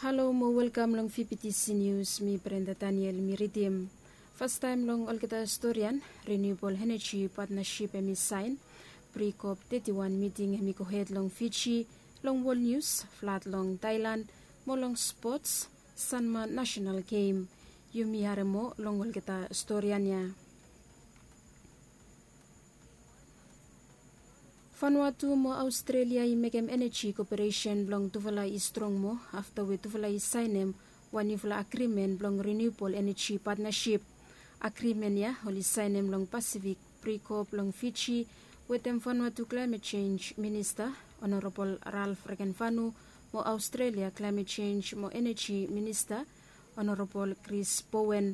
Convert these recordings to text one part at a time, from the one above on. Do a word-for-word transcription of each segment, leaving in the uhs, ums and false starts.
Halo mo welkam long fibitisi nius. Mi Brenda Daniel mi ridim. Fastaem long olgeta storian, Renewable Energy Partnership hem i saen. Pre-COP teti wan miting hem i gohed long Fiji. Long wol nius, flad long Thailand, mo long spots, Sanma National Game. Yumi harem moa long olgeta storian ya. Vanuatu mo Aostrelia i mekem eneji koperesen blong tufala i strong moa afta we tufala i saenem wan niufala agrimen blong Renewable Energy Partnership. Agrimen ya oli saenem long Pasifik Pre-COP long Fiji wetem Vanuatu Klaemet Jenj Minista Honorabol Ralph Regenvanu mo Aostrelia Klaemet Jenj mo Eneji Minista Honorabol Chris Bowen.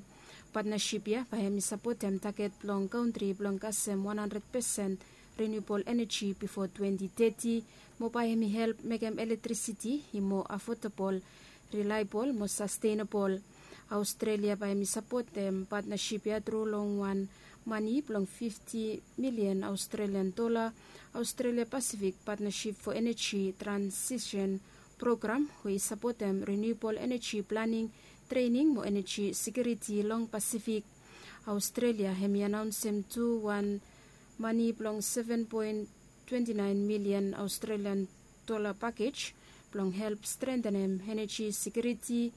Patnasip ya bae hem i sapotem taget blong kantri blong kasem wan handred pesen riniubol eneji bifo twenti teti, mo bae hem i help mekem elektrisiti i moa afodabol, rilaebol mo sastenabol. Aostrelia bae hem i sapotem patnasip ya tru long wan mane blong fifti milian Aostrelian dola. Aostrelia Pasifik Patnasip fo Eneji Transisen Program we i sapotem riniubol eneji planing, trening mo eneji sekiuriti long Pasifik. Aostrelia hem i anaonsem tu wan mane blong seven poen twenti naen milian Aostrelian dola pakej blong help strentenem eneji sekiuriti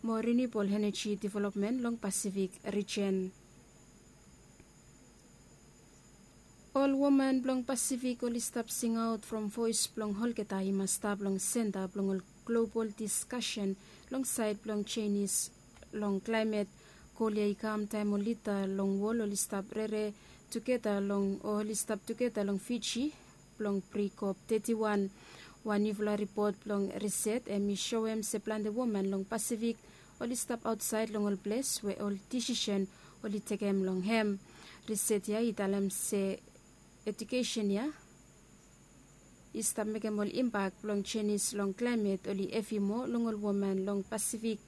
mo riniubol eneji developmen long Pasifik rijen. Ol woman blong Pasifik oli stap singaot from voes blong olgeta i mas stap long senta blong ol global diskasen long saed blong jenis long klaemet. Gol ya i kam taem ol lida long wol oli stap rere tugeta long o oli stap tugeta long Fiji blong Pre-COP teti wan. Wan niufala ripot blong riset hem i soem se plante woman long Pasifik oli stap aotsaed long ol ples we ol disisen oli tekem long hem. Riset ya i talem se ejukesen ya i stap mekem ol impak blong jenis long klaemet oli hevi moa long ol woman long Pasifik.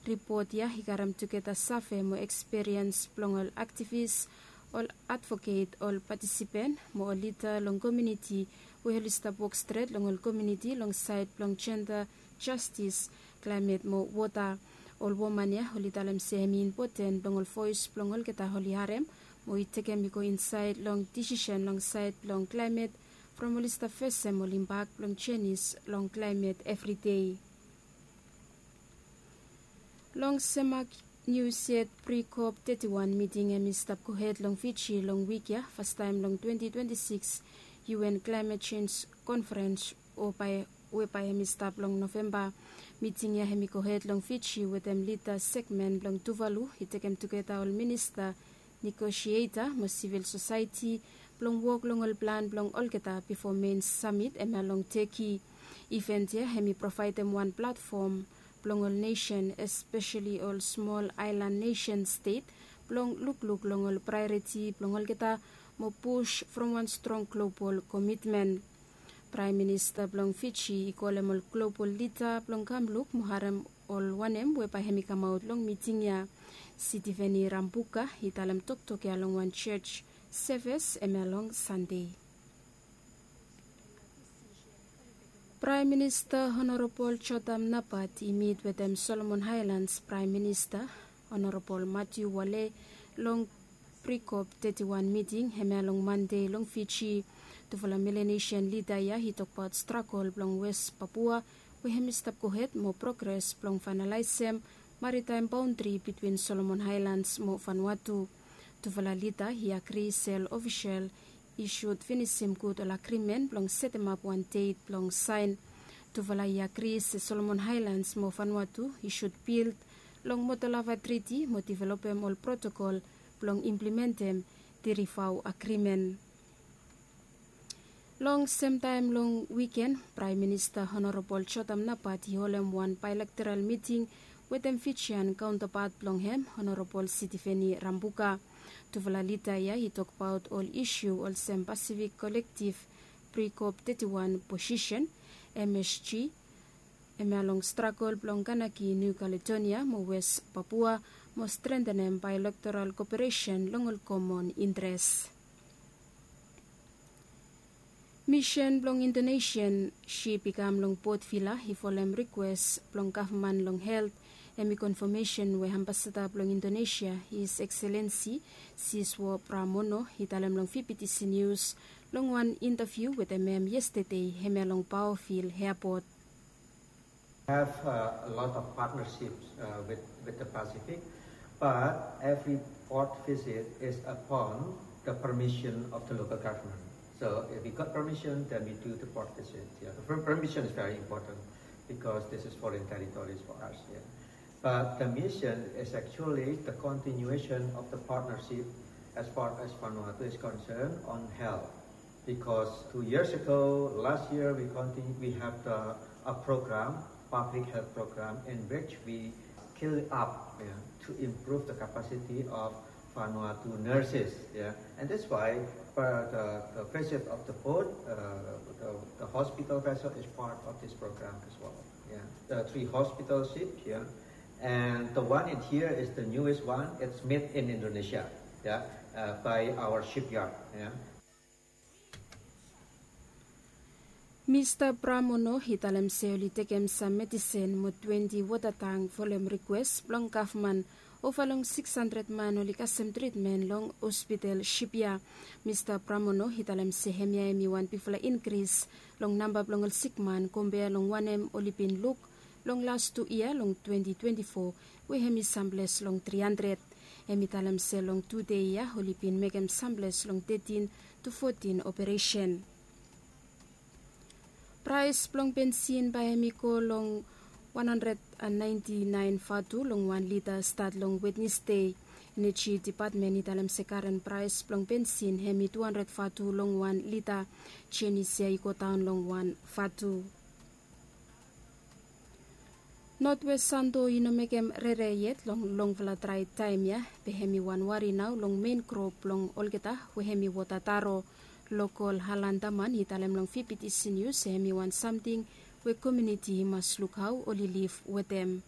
Ripot ya i karem tugeta save mo ekspiriens blong ol aktivis, ol advoket, ol patisipen mo ol lida long komuniti we oli stap wok stret long ol komuniti long saed blong jenda, jastis, klaemet mo wota. Ol woman ya oli talem se hem i impoten blong ol voes blong olgeta oli harem mo i tekem i go insaed long disisen long saed blong klaemet from oli stap fesem ol impak blong jenis long klaemet evridei. Long sem nius yet, Pre-COP teti wan miting hem i stap gohed long Fiji long wik ya, fastaem long twenti twenti sikis UN Klaemet Jenj Konferens o bae we bae hem i stap long Novemba. Miting ya hem i gohed long Fiji wetem lida segmen blong Tuvalu i tekem tugeta ol minista, negosieta mo sivil sosaeti blong wok long ol plan blong olgeta bifo mein samit hemia long Teki. Iven ya hem i provaedem wan platfom blong ol nesen, espeseli ol smol aelan nesen stet, blong lukluk long ol praeoriti blong olgeta mo pus from wan strong global komitmen. Praem Minista blong Fiji i kolem ol global lida blong kam luk mo harem ol wanem we bae hem i kamaot long miting ya. Sitiveni Rambuka i talem toktok ya long wan jos sevis hemia long Sande. Praem Minista Honorabol Jotam Napat i mit wetem Solomon Aelans Praem Minista Honorabol Matiu Wale long Pre-COP teti wan miting hemia long Mande long Fiji. Tufala Melanesian lida ya i tokbaot stragol blong Wes Papua we hem i stap gohed mo progres blong faenalaesem maritaem baondri bitwin Solomon Aelans mo Vanuatu. Tufala lida i agri se ol ofisel i sud finisim gud ol agrimen blong setemap wan det blong saen. Tufala i agri se Solomon Aelans mo Vanuatu i sud bild long Motolava Triti mo developem ol protokol blong implimentem Tirivau Agrimen. Long semtaem long wiken, Praem Minista Honorabol Jotam Napat i holem wan baelektoral miting wetem Fijian kaontapat blong hem, Honorabol Sitiveni Rambuka. Tufala lida ya i tokbaot ol isu olsem Pasifik Kolektiv Pre-COP teti wan posisen, M S G, hemia long stragol blong Kanaki Niu Kaledonia mo Wes Papua mo strentenem baelektoral koperesen long ol komon intres. Misen blong Indonesian sip i kam long Port Vila i folem rikwes blong gavman long helt. Hem i konfamesen we ambasada blong Indonesia, His Excellency Siswo Pramono, i talem long V B T C News long wan intaviu wetem hem yestede hemia long Paovil Airport. Have uh, a lot of partnerships uh, with, with the Pacific, but every port visit is upon the permission of the local government. So if we got permission, then we do the port visit. Yeah, the per- permission is very important because this is foreign territories for us. Yeah. But the mission is actually the continuation of the partnership as far as Vanuatu is concerned on health. Because two years ago, last year, we continue, we have the, a program, public health program, in which we scale up, yeah, to improve the capacity of Vanuatu nurses. Yeah. And that's why uh, the, the visit of the boat, uh, the, the hospital vessel is part of this program as well. Yeah. The three hospital ships, yeah. And the one in here is the newest one. It's made in Indonesia, yeah, uh, by our shipyard. Yeah. Mista Pramono i talem se oli tekem sam medisen mo twenti wota tang folem rikwes blong gavman. Ova long siks handred man oli kasem tritmen long hospital sip ya. Mista Pramono i talem se hemia hem i wan bigfala inkris long namba blong ol sikman kompea long wanem oli bin luk long las tu yia long twenti twenti fo, we hem i samples long tri handred. Hem i talem se long tu dei ya oli bin mekem samples long tetin tu fotin operesen. Praes blong bensin bae hem i go long wan handred naenti naen vatu long wan lita stat long Wednesdei. Eneji depatmen i talem se karen praes blong bensin hem i tu handred vatu long wan lita. Jenis ya i godaon long wan vatu. Notwes Santo i no mekem rere yet long longfala drae taem ya, be hem i wan wari nao long men krop blong olgeta we hem i wota taro. Lokol Halan Daman i talem long V B T C News se hem i wan samting we komuniti i mas luk hao oli liv wetem.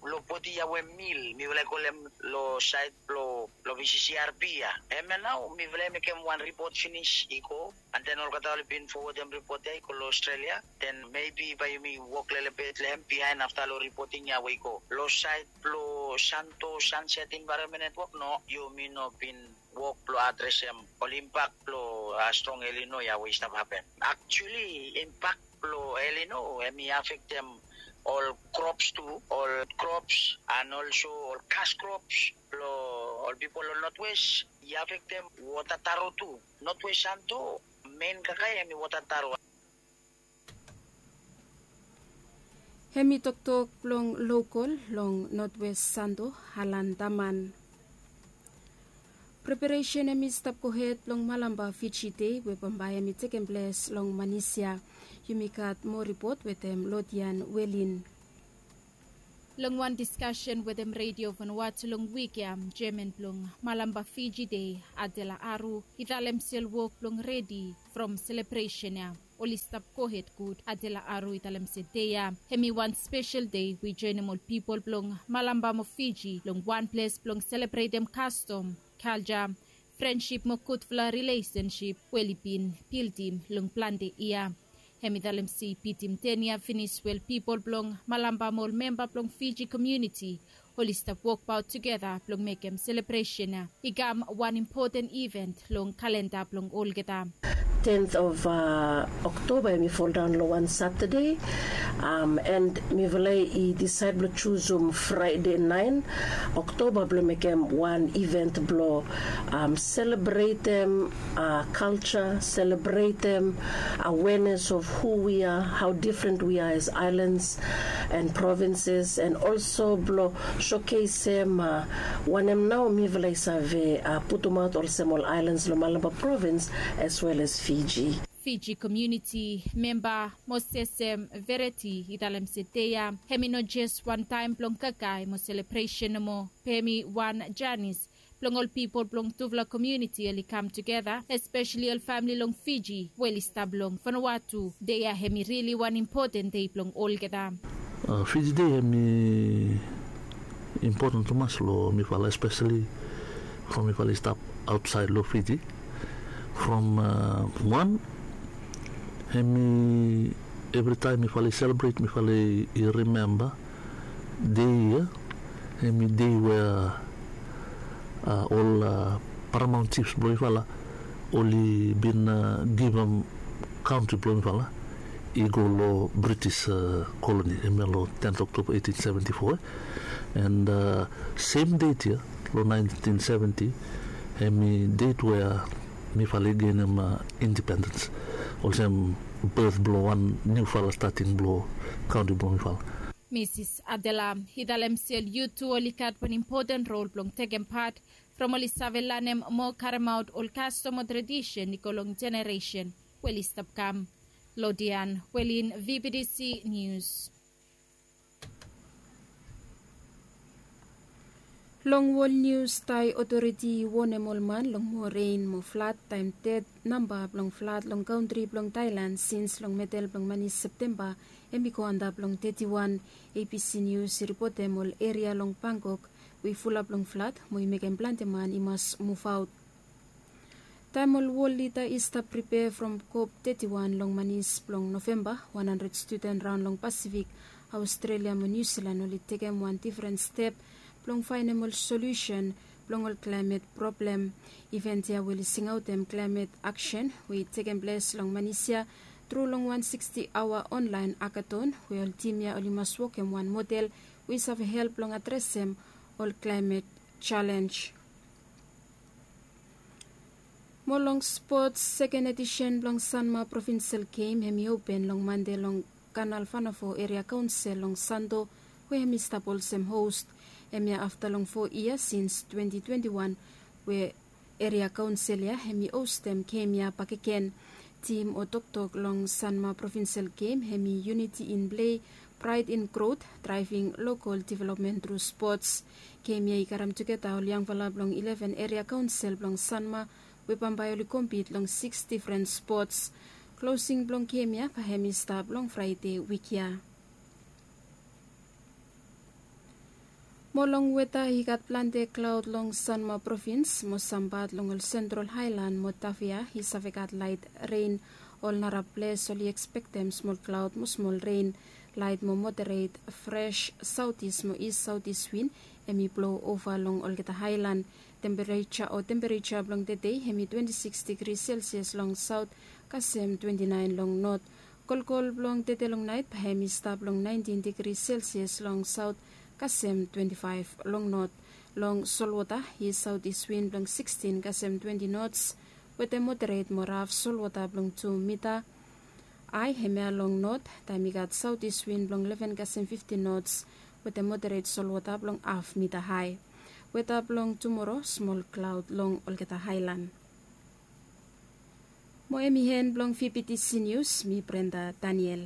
Lo poti ya we mil mifala i kolem lo saed blo lo V C C R P ya. Hemia nao mifala i mekem wan ripot finis i go, and then olgeta oli bin fowodem ripot ya i go lo Australia. Then maybe bae yumi wok lelebet long hem bihaen afta lo ripoting ya we i go. Lo saed blo Santo Sunset Environment Network, no, yumi no bin wok blo adresem ol impak blo a strong El Nino ya we i stap hapen. Actually impak blo El Nino hem i afektem ol krops tu, ol krops and also ol kas krops blo ol pipol long Notwes. I afektem wota taro tu. Notwes Santo men kakae hem i wota taro. Hem i toktok blong lokol long Notwes Santo, Halan Daman. Preparesen hem i stap gohed blong Malampa Fiji Dei we bambae hem i tekem ples long Manisia. Yumi gat moa ripot wetem Lodian Welin. Long wan diskasen wetem Redio Vanuatu long wik ya, jeaman blong Malampa Fiji Dei, Adela Aru, i talem se ol wok blong redi from selebresen ya oli stap gohed gud. Adela Aru i talem se dei ya hem i wan spesel dei we i joenem ol pipol blong Malampa mo Fiji long wan ples blong selebretem kastom, kalja, frensip mo gudfala rilesensip we oli bin bildim long plante yia. Hem i talem se i bitim ten yia finis we ol pipol blong Malampa mo ol memba blong Fiji komuniti oli stap wokbaot tugeta blong mekem selebresen ya i kam wan impoten iven long kalenda blong olgeta. Tenth of Oktoba hem i foldaon long wan Satade, and mifala i disaed blong jusum Fraede naen Oktoba blong mekem wan iven blong selebretem kalja, selebretem awenes of hu wi a, hao difren wi a as aelans and provenses, and olso blong sokesem wanem nao mifala i save putumaot olsem ol aelans long Malampa provens as wel as Fiji. Fiji komuniti memba Mosesem Vereti i talem se dei ya hem i no jes wan taem blong kakae mo selebresen nomo, be hem i wan janis blong ol pipol blong tufala komuniti oli kam tugeta, espeseli ol famili long Fiji we oli stap long Vanuatu. Dei ya hem i rili wan impoten dei blong olgeta. Fiji Dei hem i impoten tumas long mifala, espeseli from mifala i stap aotsaed long Fiji. From wan, hemi evritaem mifala i selebret, mifala i rimemba dei ia, hemi dei we ol paramaon jifs blong mifala oli bin givim kantri blong mifala i go long British koloni, hemia long tenth October eighteen seventy-four. And sem det ia long nineteen seventy, hemi det we mifala i genim independens, olsem birth blong wan niufala stating blong kantri blong mifala. Misis Adela i talem se ol yut tu oli gat wan impoten rol blong tekem pat from oli save lanem mo karemaot ol kastom o tradisen i go long jeneresen we oli stap kam. Lodian Welin, V B T C Nius. Long wol nius, Thai otoriti i wonem ol man long moa ren mo flad taem ded namba blong flad long kantri blong Thailand sins long medel blong manis Septemba hem i go antap long teti wan. A B C Nius i ripotem ol eria long Bangkok we i fulap long flad mo i mekem plante man i mas muvaot. Taem ol wol lida i stap pripea from kop teti wan long manis blong Novemba, wan handred studen raon long Pasifik, Aostrelia mo Niu Silan oli tekem wan difren step blong faenem ol solusen blong ol klaemet problem. Iven ya we oli singaotem klaemet aksen we i tekem ples long manis ya tru long wan siksti aoa onlaen akaton we ol tim ya oli mas wokem wan model we i save help blong adresem ol klaemet jalenj. Mo long spots, seken edisen blong Sanma Provinsel Gem hem i open long Mande long Kanal Vanafo Eria Kaonsel long Santo, we hem i stap olsem hos. Hemia afta long fo yia sins twenti twenti wan we Eria Kaonsel ya hem i hostem gem ya bakegen. Tim o toktok long Sanma Provinsel Gem hem i Uniti in Plei, Praed in Grot, Draeving Lokol Developmen tru Spots. Gem ya i karem tugeta ol yangfala blong ileven eria kaonsel blong Sanma we bambae oli kompit long siks difren spots. Klosing blong gem ya bae hem i stap long Fraede wik ya. Mo long weta, i gat plante klaod long Sanma Provins mo sam pat long ol Sentral Haelan mo Tafea i save gat laet ren. Ol nara ples oli ekspektem smol klaod mo smol ren. Laet mo moderet fres saotis mo is saotis win hem i blou ova long olgeta haelan. Tempereja o tempereja blong tedei hem i twenti siks digri selsias long saot kasem twenti naen long not. Kolkol blong tede long naet bae hem i stap long naentin digri selsias long saot kasem twenti faef long not. Long solwota i saotis win blong sikstin kasem twenti nots wetem moderet mo raf solwota blong tu mita ae hemia long not, taem i gat saotis win blong leven kasem fiftin nots wetem moderet solwota blong haf mita ae. Weta blong tumoro, smol klaod long olgeta haelan. Mo hem i en blong V B T C Nius, mi Brenda Daniel.